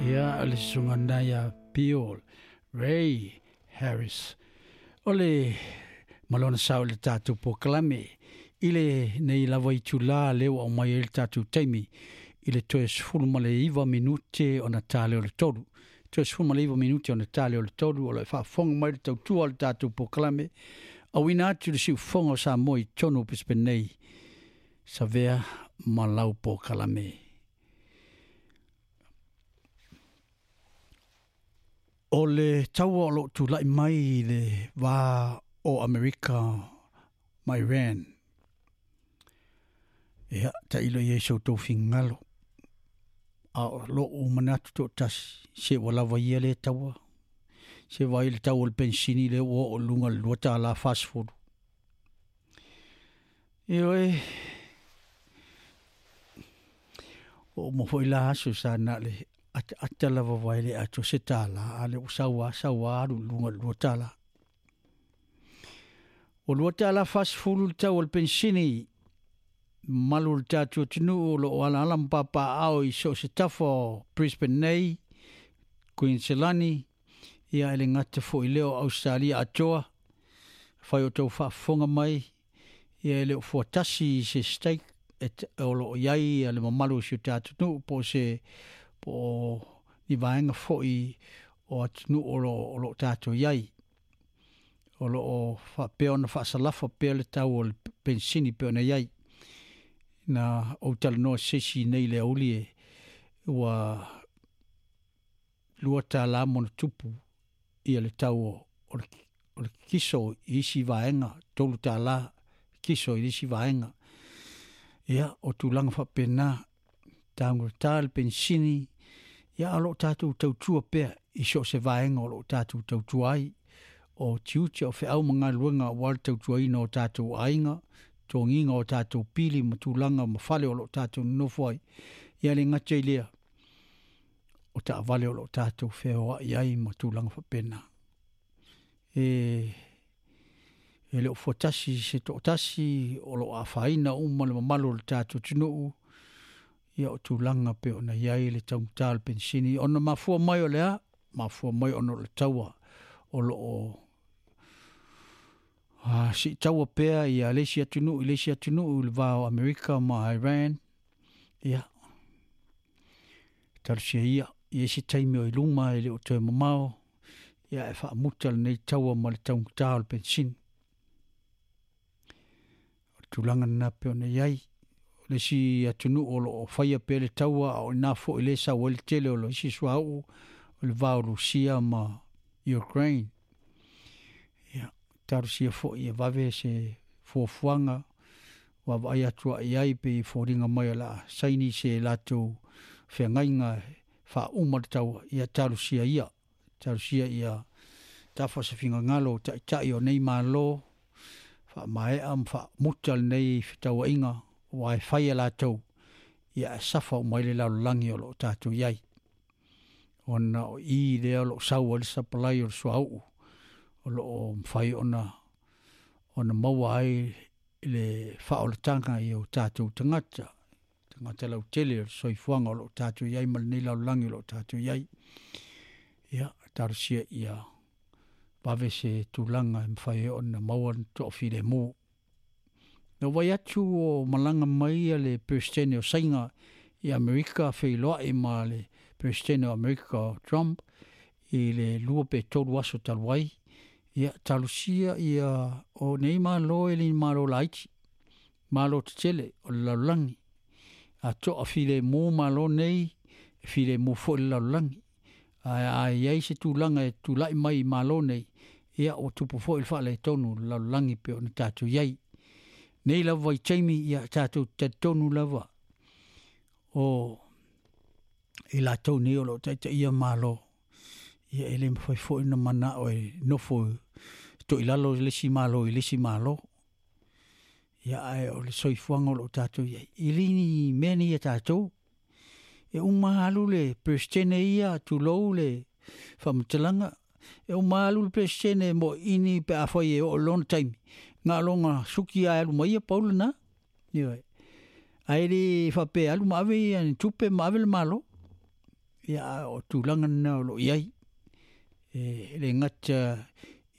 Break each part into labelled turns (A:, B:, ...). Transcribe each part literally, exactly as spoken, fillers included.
A: Ia le susuga ia Bill Ray Harris. O le malona sao le tatou polokalame i le nei lava itula lea ua aumai ai le tatou taimi i le toe sefulu ma le iva minute ona tale o le tolu. Toe sefulu ma le iva minute ona tale o le tolu o lo o faafofoga mai le tautua o le tatou polokalame. Auina atu le siufofoga o Samoa i totonu o Brisbane nei, savea ma lau polokalame. O le taua o loo tulai mai i le va o Amerika ma Iran. Ia, tailo i ai so outou finagalo. A o loo manatu toatasi, se ua lava ia le taua. Se vai le tau o le pensini le ua oo i luga le lua tala fasefulu. Ioe, o uma foi la aso sa na le ata ata lava vai le ato se tala, a le ua saua saua alu i luga le lua tala. O lua tala fasefulu le tau o le pensini, malu le tatou atunuu o loo alaala ma papaao i so o se tafa o Brisbane nei, Queensland, ia e le gata foi lea o Australia atoa, fai o tau faafofoga mai, ia e le o fuatasi i se stake e o loo iai le mamalu o si o tatou atunuu po o se po o ni vaega foi o atunuu o loo o loo tatou iai. O loo faapea ona faasalafa pea le tau o le pensini pe ona iai. Na ou talanoa se isi nei le auli e ua lua tala ma ona tupu ia le tau o le, o le kiso i isi vaega, tolu tala kiso i isi vaega. Ia, o tulaga faapena, taugata le pensini, ia o loo tatou tautua pea i so o se vaega o loo tatou tautua ai. O tiute o feau ma galuega aua le tautuaina o tatou aiga, togiga o tatou pili ma tulaga ma fale o loo tatou nonofo ai. Ia le gata i lea, o taavale o loo tatou feoai ai ma tulaga faapena. E e le o fuatasi se toatasi o loo afaina uma le mamalu o le tatou atunuu, ia o tulaga pe ona iai le taugata o le pensini. Ona mafua mai o le a? Mafua mai ona o le taua o loo a, siitaua pea ia le isi atunuu i le isi atunuu i le va o Amerika ma Iran. Ia, talosia ia i isi taimi o i luma e le o toe mamao, ia e faamuta lenei taua ma le taugata o le pensini. O le tulaga lena pe ona iai. O le isi atunuu o loo faia pea le taua, a o ina foi le sau ai le tele o le isi suauu o le va o Rusia ma Ukraine. Ia, talosia foi e vave se fuafuaga vaavaai atu ai ai pe i foliga mai o le a saini se latou feagaiga faauma le taua. Ia talosia ia, talosia ia tafa se finagalo o taitai o nei malo, faamaea ma faamuta lenei fetauaiga ua e fai e latou, ia e safa uma ai le lalolagi o loo tatou iai. Ona o i lea o loo sau ai le sapalai o le suauu o loo mafai ona ona maua ai le faaolataga i o tatou tagata, tagata lautele o le soifuaga o loo tatou iai ma lenei lalolagi o loo tatou iai. Ia, talosia ia vave se tulaga e mafai ai ona maua le toafilemu. Na vai atu o malaga mai ia le Peresetene o Saina i Amerika feiloai ma le Peresetene o Amerika o Trump i le lua pe tolu aso talu ai. Ia, talosia ia o nei malo e le malo laiti, malo tetele o le lalolagi. A toa filemu malo nei, e filemu foi le lalolagi. Ae a iai se tulaga e tulai mai i malo nei, ia ua tupu foi le faaletonu o le lalolagi pe ona tatou iai. Nei lava i taimi, ia tatou talitonu lava o i latou nei o loo taitaia malo. Ia e le mafai foi ona manao e nofo toilalo i le isi malo i le isi malo. Ia ae o le soifuaga o loo tatou iai. I le ni mea nei a tatou, e uma alu le Peresetene ia, tulou le faamatalaga, e uma alu le Peresetene mo ini pe afai e oo lona taimi. Ngā longa suki a alu mai ia pau lena. Ioe. Ae le faapea alu ma ave ia ni tupe ma ave le malo. Ia o tulaga lena o loo i ai e le gata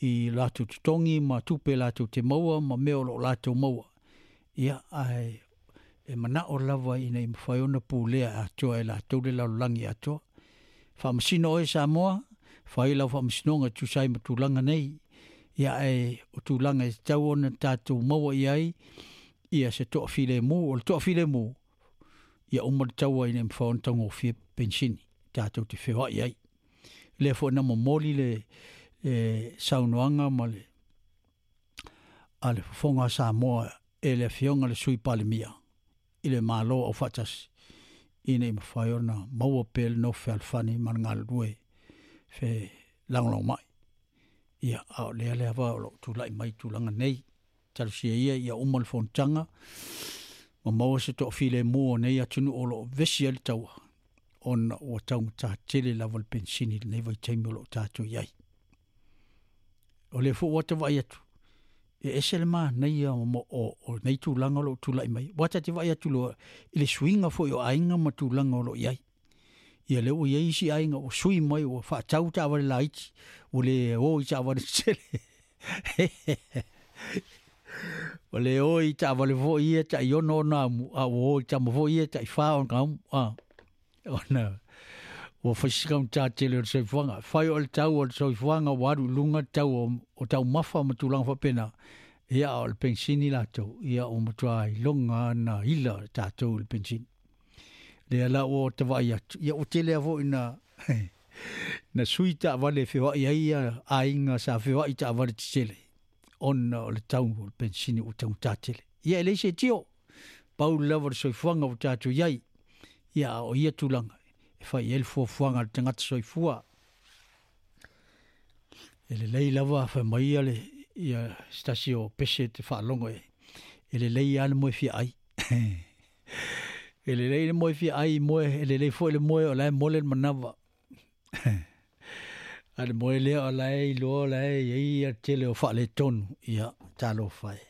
A: i latou totogi ma tupe latou te maua ma mea o loo latou maua. Ia ae e manao lava ina ia mafai ona pulea atoa e latou le lalolagi atoa. Faamasino oe Samoa, fai lau faamasinoga e tusa ai ma tulaga nei. Ia ae o tulaga e tatau ona tatou maua i ai ia se toafilemu. O le toafilemu ia uma le taua ina ia mafai ona taugofie penisini tatou te feoai ai. Lea foi na momoli le e saunoaga ma le a le fofoga a Samoa e le afioga le Sui Palemia i le Malo Aufaatasi ina ia mafai ona maua pea le nofo fealofani ma le galulue fe lagolagomai. Ia a o lea lava o loo tulai mai tulaga nei, talosia ia ia uma le fonotaga ma maua se toafilemu o nei atunuu o loo vevesi ai le taua, ona ua taugata tele lava le penisini i lenei vaitaimi o loo tatou i ai. O lea foi ua ta vaai atu e ese le manaia o, o, o nei tulaga o loo tulai mai. Ua ta te vaai atu loa i le suiga foi o aiga ma tulaga o loo i ai. Ia lea ua i ai isi aiga ua sui mai ua faatau taavale laiti, ua le o i taavale tetele. Ua le o i taavale foi ia tai ono ona amu, a ua o i tama foi ia tai fa ona amu. A, ona ua fai si taugata tele o le soifuaga. Fai o le tau o le soifuaga ua alu i luga le tau o, o taumafa ma tulaga faapena. Ia o le penisini latou, ia ua matua iloga na ila tatou i le penisini. Lea la ua ta vaai atu, ia ua tele lava foi ina na sui taavale e feoai ai ia aiga sa feoai i taavale tetele, ona o le tau o le penisini ua taugata tele. Ia e leai se tio, pau lava le soifuaga ua tatou i ai. Ia a o ia tulaga e fai i ai le fuafuaga a le tagata soifua. E lelei lava fai mai ia le ia se tasi o pese te faalogo e e lelei lava le moe fia ai. E lelei le moe fia ai moe, e lelei foi le moe o la e mole le manava. A le moe lea o la e iloa o la e i ai ia le tele o faaletonu, ia talofa e.